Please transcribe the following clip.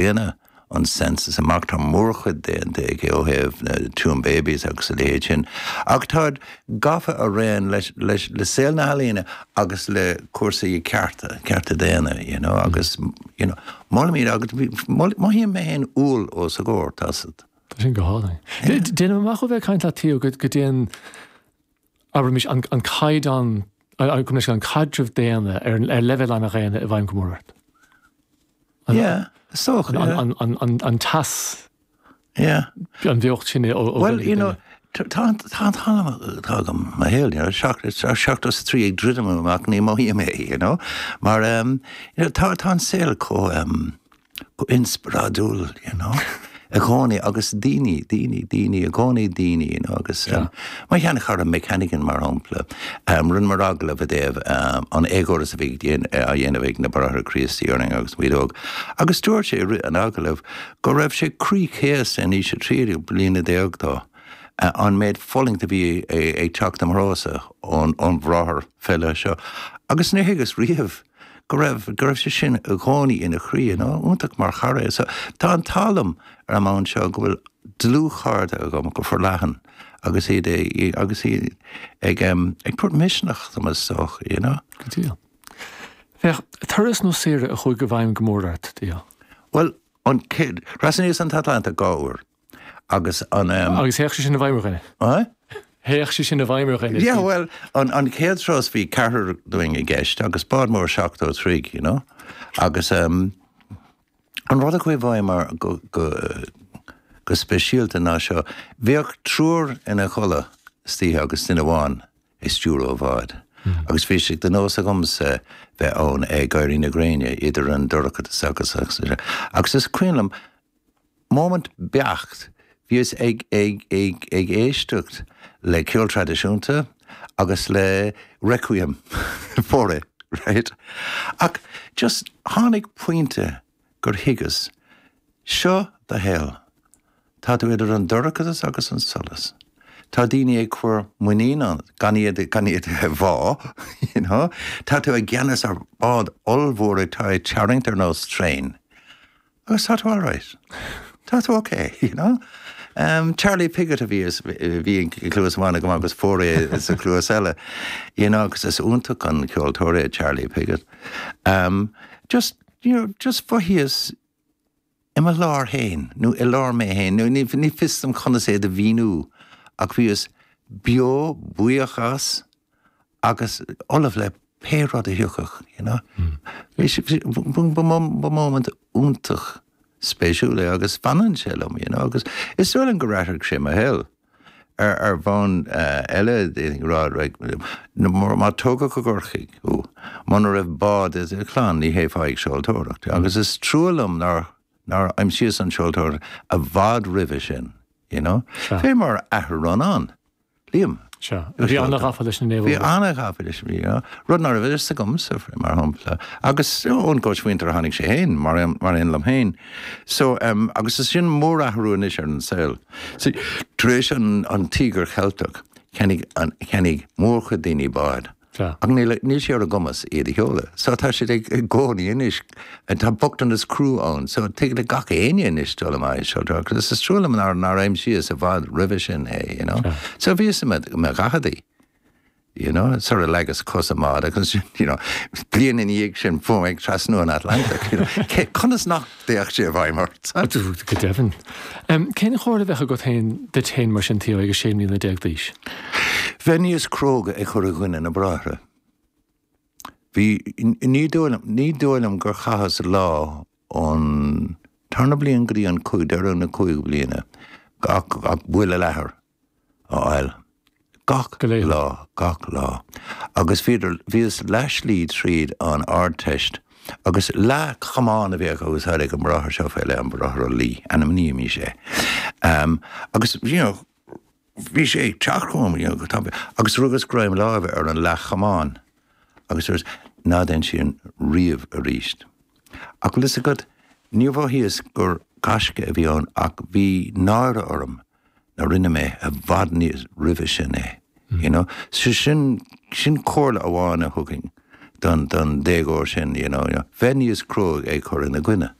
Daonna, an census amach, tá mórchuid déanta aige ó thaobh na Tuam Babies agus a leithéid sin, ach táid gafa araon leis, leis, le saol na healaíne agus le cúrsaí cearta, cearta daonna, you know, agus, you know, molaim iad agus mothaím mé féin umhal os a gcomhair, tá 's agat. Tá sin go hálainn. Déanaim amach ó bheith ag caint leat, Theo, go dtéann, abraimis, an caighdeán, an caidreamh daonna ar leibhéal an-dhaonna i bhfeidhm go mór ort. Yeah, is dócha, yeah. An teas. Yeah. An bheocht sin ó dhuine Well, you know, tá an t-am atá agam mo shaol, you know, 73 ag druidim amach, ní mothaím é, you know, mar, you know, tá an saol chomh, chomh inspioráidiúil, you know, i gcónaí agus daoine, daoine, daoine, i gcónaí daoine, you know, agus mo sheanchara Mick Hannigan, mar shampla, rinneamar agallamh i dtaobh an éagóras a bhí á dhéanamh ag na Bráithre Críostaí orainn agus muid óg, agus dúirt sé i rith an agallaimh go raibh sé croíchéasta in aois a 13 bliana dó an méid fulaingt a bhí ag teacht i mo threosa ón bhráthair fé leith seo, agus níor thuigeas riamh go raibh, go raibh sé sin i gcónaí ina chroí, you know, iontach mar chara é. So tá an t-ádh liom ar an mbonn seo go bhfuil dlúthchairde agam go forleathan agus iad ag, agus iad ag, em, ag tabhairt misneach dom is dócha, you know. Go díreach. Féach, turas nó saoire a chuaigh i bhfeidhm go mór ort, Theo? Bhuel, an chéad, thrasnaíos an tAtlantach dhá uair. Agus an. Agus théadh sé sin i bhfeidhm ar dhuine. Aye? Théadh sé sin i bhfeidhm ar dhuine. Yeah, well, an, an chéad turas bhí ceathrar dúinn i gceist agus bád mór 70 troigh, you know. Agus um, an rud a chuaigh i bhfeidhm ar, go, go, go speisialta ná seo, bhíodh triúr ina chodladh istoíche agus duine amháin ag stiúradh an bháid. Agus bhí sé de nós agamsa bheith ann ag éirí na gréine idir an dorchadas agus agus agus is cuimhin liom Móimint beacht, bhíos ag ag ag ag éisteacht le ceol traidisiúnta agus le Requiem Fauré, right? Ach just tháinig pointe gur thuigeas, seo do shaol. Tá tú idir an dorchadas agus an solas. Tá daoine ag cur muinín ionat, gan iad gan iad a bhá, you know? Tá tú i gceannas ar bhád ollmhór atá ag tarraingt ar nós traein. Agus tá tú alright. Tá tú ok, you know? Um, Charlie Piggott a bhí a bhí i gcluas amháin agam agus Fauré sa chluas eile. You know, agus is iontach an ceoltóir é Charlie Piggott. Um, just, you know, just mhothaíos i mo lár féin, nó i lár mé féin, nó ní, ní fios dom conas é do mhíniú, ach bhíos beo, buíoch as, agus ullamh le pé rud a thiocfadh, you know. Bhí sé, ba móimint iontach spéisiúil é agus fanann sé liom, you know, agus is dóigh liom gur athraigh sé mo shaol. Ar, ar bhonn eile, d'fhéadfainn a rá, like, má tógadh i gCorcaigh thú, muna raibh bád i do chlann, ní théifeá ag seoltóireacht. Agus is trua liom nár, nár aimsíos an tseoltóireacht i bhfad roimhe sin, you know. Fé mar athair Rónán. Liam. Sea. Bhí an-ghafa leis na naomhóga. Bhí an-ghafa leis, bhí, rud ná raibh a fhios agamsa, mar shampla. Agus ón gcóismhuintir a tháinig sé féin, mar aon liom féin. So, agus is sin mórathrú anois ar an saol. So, tar éis an, an Tíogar Cheilteach, cheannaigh an, cheannaigh mórchuid daoine báid. Sea. Ach níl, níl sé ar a gcumas iad a sheoladh. So tá siad ag, i gcónaí anois, tá bochtanas crua ann, so tig le gach éinne anois dul amach ag seoltóireacht. Agus is trua liom nár, nár aimsíos i bhfad roimhe sin é, you know. Sea. So bhíos i mo, i mo dhaicheadaí, you know, sara leagas cos i mbád agus ansin, you know, bliain ina dhiaidh sin fuair mé ag trasnú an Atlantaigh, you know. Cé, conas nach dtéadh sé i bhfeidhm ort? Go deimhin. Cén chomhairle a bheadh agat féin duit féin mar sin, Theo, ag 16 mbliana d'aois? Bheith níos cróga ag cur i gcoinne na bráithre. Bhí, ní dóigh liom, ní dóigh liom gur chaitheas lá ón tarna bliain go dtí an cúig, deireadh na cúigiú bliana ach, ach buille leathair. a fháil gach lá, gach lá. Agus bhíodar, bhíos leathshlí tríd an Ardteist agus leathchamán a bhíodh á úsáid ag an mbráthair seo fé leith, an Bráthair Ó Laoi, ainmnímis é. Agus, you know, bhí sé ag teacht chugam, you know, go tapaidh, agus rugas greim láimhe ar an leathchamán agus dúras, ná déan sin riamh aríst. Ach bhfuil fhios agat, níor mhothaíos gur gaisce a bhí ann ach bhí náire orm nár rinne mé i bhfad níos roimhe sin é, you know. So sin, sin comhairle amháin a thugfainn don, don déagóir sin, you know, bheith níos cróga ag cur ina gcoinne.